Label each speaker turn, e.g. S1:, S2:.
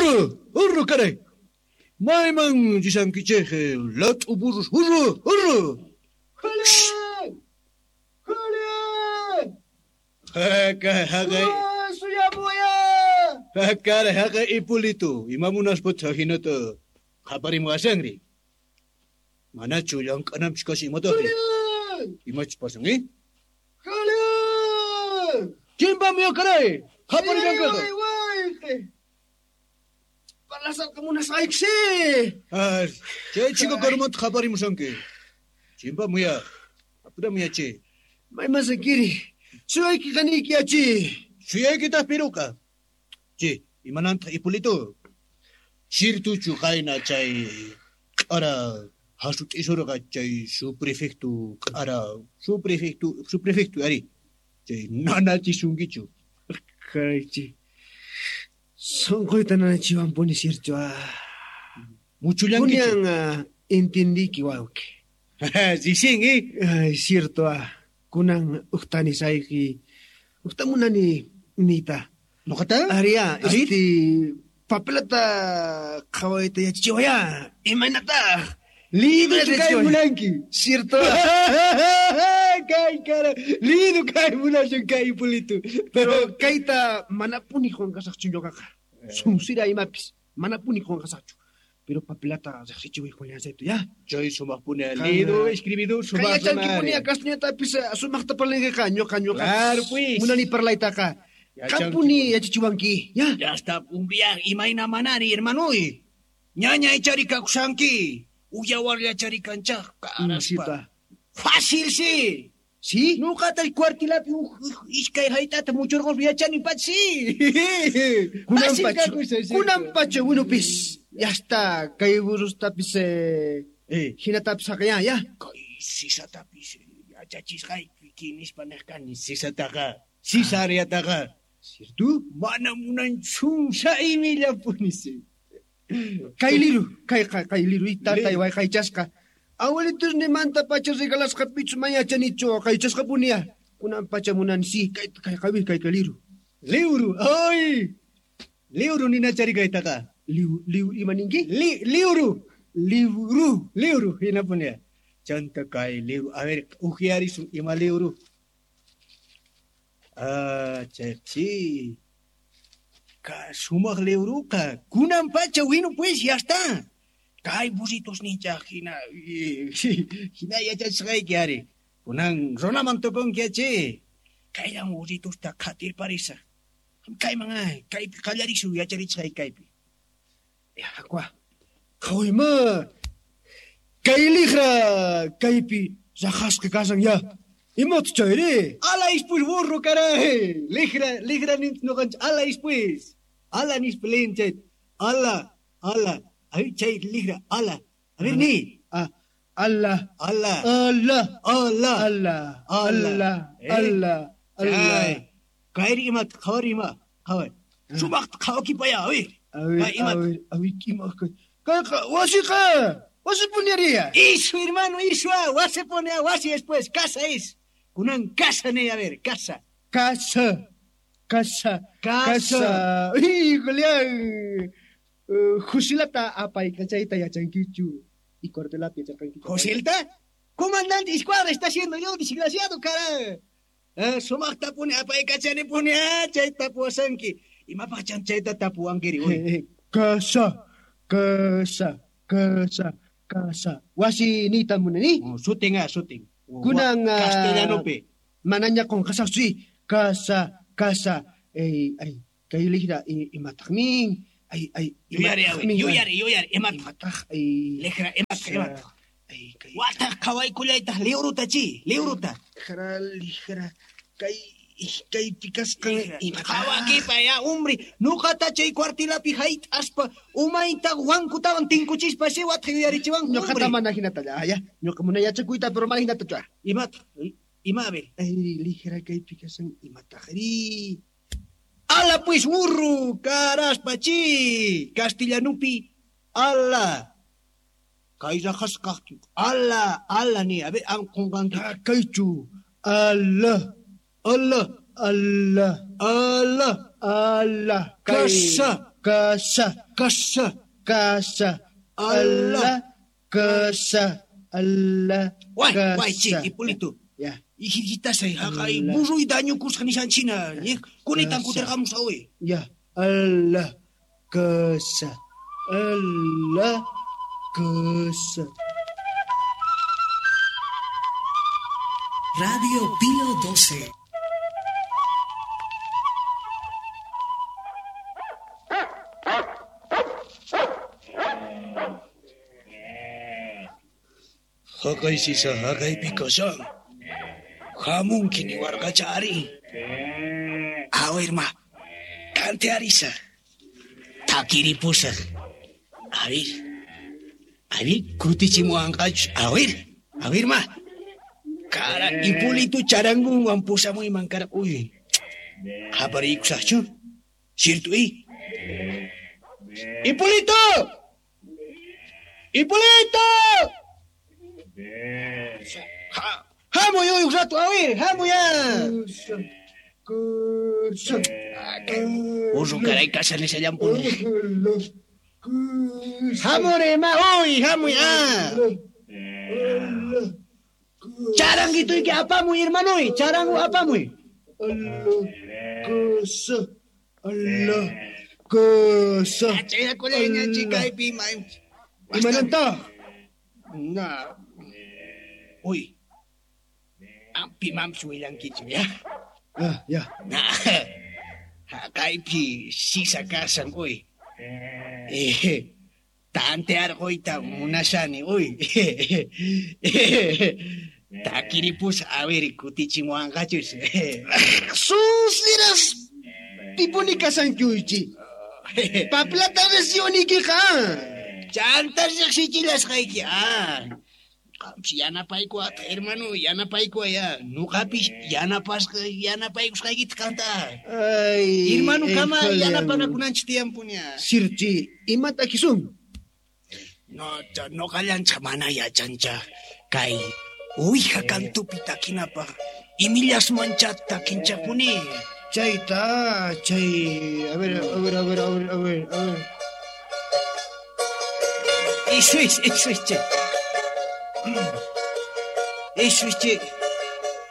S1: Hurru, hurru caray. Mayman rishankichej lat'u burros, hurru, hurru.
S2: Julián! Julián!
S1: Haka, haqay.
S2: Suyamuya!
S1: Caray, haqay Hipólito, ima munaspataq hinata qhaparimuwashanri. Manachu llank'ananpis kashan imataqri?
S2: Julián!
S1: Imachus pasan, eh?
S2: Julián!
S1: Chimpamuya caray, qhaparillankaqa.
S2: Way, way! Parlasarqa munasqayki.
S1: Ah, chay chico karumanta qhaparimushanki. Chimpamuya, apuramuya che.
S2: Mayman sankiri. Suyayki qaniyki achi.
S1: Suyaykitaq piruqa. Che, imanantaq Hipólito? Sirtuchu qayna chay q'ara hasut'isurqa chay subprefecto q'ara subprefecto ari. Chay nanachisunkichu.
S2: Kaychi. Sonqoyta nanachiwanpuni cierto.
S1: Muchullankichu.
S2: Kunan entendiki wawqi.
S1: Ricien, eh?
S2: Ay, cierto. Kunan uqtani sayki. Uqta munani niyta.
S1: Noqata?
S2: Aria,
S1: A ver.
S2: este papelata qhawayta yachachiwaya. Imaynataq?
S1: Liduchu kay munanki.
S2: Cierto.
S1: Kay cara, lidu kay munashan kay Hipólito.
S2: Pero kayta manapuni qunqasaqchu ñuqaqa. Sunsira imapis manapuni qunqasaqchu. Pero papelata riqsichiway Julián Saito, ya.
S1: Chay sumaqpuni
S2: Kana.
S1: lidu escribidu
S2: Kay
S1: sumaq
S2: yachankipuni castellanotapis sumaqta parlankiqa ñuqa ñuqa.
S1: Claro, pues.
S2: Munani parlaytaqa. Qampuni yachachiwanki, ya.
S1: Ya está, un viaje, imayna manani, hermanoy. Ñaña ichari kakushanki. Uyawarlla chari kanchaj, caraspa.
S2: Cierto.
S1: Fácil, sí.
S2: ¿Sí?
S1: Nuqata cuartilapi iskay hayt'ata muchurquspa yachani pacha, sí.
S2: Kunan
S1: Fácil
S2: pacha,
S1: kakushan, cierto.
S2: kunan pacha winupis. Ya está, kay burrustapis hinatapis haqayan, ya.
S1: Kay sisatapis yachachisqayki nispa nej kani sisataqa, sisariataqa.
S2: Cierto?
S1: Mana munanchu imillapuni, sí.
S2: Kay liru, kay kay liru tatay wayqaychasqa. Abuelitos nimanta pacha regalasqa pichu mayachanichu waqaychasqa punia. Kunan pacha munani sí, kay kay kay kay kay liru.
S1: Liuru, ay. Liuru ninachari kaytaqa.
S2: Liu liu ima ninki?
S1: Liuru,
S2: Liuru.
S1: liuru hinapunia. Chanta kay liuru. A ver, ujiarisun ima liuru. Ah, chay, Ka sumaq liuruqa. Kunan pacha winu pues, ya está. Kay burritos ninchaq hina hina yachachisqayki ari. Kunan runaman tukunki achi. Kayllan burritosta qhatirparisaq. Kayman ay, kaypi qallarisun yacharichisqayki kaypi.
S2: Ya, aqua. Qhawayma. Kay liqra kaypi raqasqa kashan ya. Imataq chayri?
S1: Ala ispus burro, caray. Liqra, liqra nin noqanchik ala ispus. Ala nispa lin chay. Ala, ala. Ay, chay liqra, ala. A ver, ni.
S2: Ah, ala.
S1: Ala.
S2: Ala.
S1: Ala.
S2: Ala.
S1: Ala.
S2: Ala. Ala. Ala.
S1: Chay. Kayri imat, qhawari ima. Qhaway. Sumaqta qhawakipaya, a ver.
S2: A ver,
S1: Kay imat.
S2: a ver, a ver, ima kay. Kayqa wasiqa. Wasi puniaria.
S1: Isu, hermano, isu, ah, wasi pone a wasi después, casa es. Kunan casa ne, a ver, casa.
S2: Casa. Casa.
S1: Casa.
S2: Casa. Uy, Julián. Jusilata apaykachayta yachankichu. Y cuartelapi yachankichu.
S1: ¿Joselta? Comandante escuadra está haciendo yo, desgraciado, cara. Ah, sumaqta pone apaykachani pone ah, chayta tapuwasanki. Imapaqchan chayta tapuwankiri, uy.
S2: Casa. Casa. Casa. Casa. Wasi niyta munani.
S1: Oh, sutin ah, sutin.
S2: Kunan,
S1: Castellanopi.
S2: Manaña qunqasaqchu. Casa, casa. Ay, ay, kay liqra imataqmin. Ay, ay,
S1: Yuyari, a ver,
S2: imataqmin,
S1: yuyari, yuyari, imataq.
S2: Imataq, ay.
S1: Liqra, imataq, imataq.
S2: Ay, kay.
S1: Wataq qhawaykullaytaq liwruta chi, liwruta.
S2: Liqra, liqra. Kay, kaypi kasqan imataq.
S1: Qhawakipa ya, hombre. Nuqata chay cuartilapi hayt'aspa umayta wankutawan tinkuchispa si wataq yuyarichiwanku,
S2: Ñuqata
S1: hombre.
S2: mana hinata ya, ya. Ñuqa munay yachakuyta, pero mana hinata chu.
S1: Imataq, ima, a ver.
S2: Ay, liqra kaypi kasqan imataqri.
S1: Ala pues burro, caraspa chi, castellanupi, ala. Kay raqasqaq, ala, ala ni, a ver, am qunqanki.
S2: Ah, kaychu. Ala.
S1: Ala,
S2: Ala.
S1: ala,
S2: Ala.
S1: Casa.
S2: Kasa.
S1: Kasa.
S2: Kasa.
S1: Ala.
S2: Kasa. Ala.
S1: Way, way, che, Hipólito.
S2: Ya.
S1: Ijirgitasay, haqay, burruy dañukusqa nishanchina. Kunitan kutirqamusqa uy.
S2: Ya. Ala. Kasa. Ala. Kasa.
S3: Radio Pío 12.
S1: Haqay sisa haqaypi kashan. Hamunki niwarqacha ari. A ver ma, tantearisaq. Takiripusaq. A ver. A ver, kutichimuwanqachus. A ver ma. Kara, Hipólito charangunwan pusamuyman kara. Uy. Qapariykusaqchu. Cierto, i.
S2: ¡Hipólito! ¡Hipólito! ¡Hamuy uy un rato! A ver, hamuy ya.
S1: Burro caray casa nishallampuni.
S2: ¡Hamure ma! ¡Uy, hamuy ah! Charanguituyki apamuy, hermanoy. Charango apamuy.
S1: Ala,
S2: Kasa.
S1: Chayrakullaña chikaypi ma.
S2: Imanantaq?
S1: Na. Uy. Ampi mamchu willankichu, ya?
S2: Ah, ya.
S1: Na. Haqaypi sisa kasan, uy. Tantearquyta munashani, uy. Takiripus, a ver, kutichimuwanqachus.
S2: Susliras pipuni kasankuychi. Paplata recionikiqa.
S1: Chanta riqsichillasqayki, ah. Qampis yanapaykuwata, hermano, yanapaykuwa ya. Nuqapis yanapasqa yanapaykusqaykita qanta.
S2: Ay,
S1: Hermano, kama yanapanakunanchik tiyanpuña.
S2: Sirchi, imata kisun?
S1: No, noqallanchik mana yachancha. Kay uwija kantupi takinapaq imillasmancha takinchapuni.
S2: Chayta, chay, a ver, a ver, a ver, a ver, a ver, a ver.
S1: Eso es, che. Eso es, che.